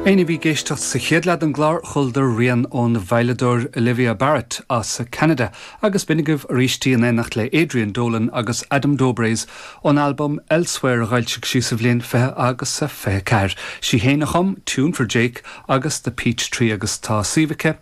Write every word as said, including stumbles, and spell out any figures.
Éinne a bhí ag éisteacht sa chéad leath den gclár chualadar rian ón veidhleadóir Olivia Barrett as Canada agus b'in agaibh arís in éineacht le Adrian Dolan agus Adam Dobres ón album Elsewhere a d'fhoilsigh sí sa bhliain fiche agus a fiche ceathair. Sí féin a chum Tune for Jake agus The Peach Tree agus tá suíomh aici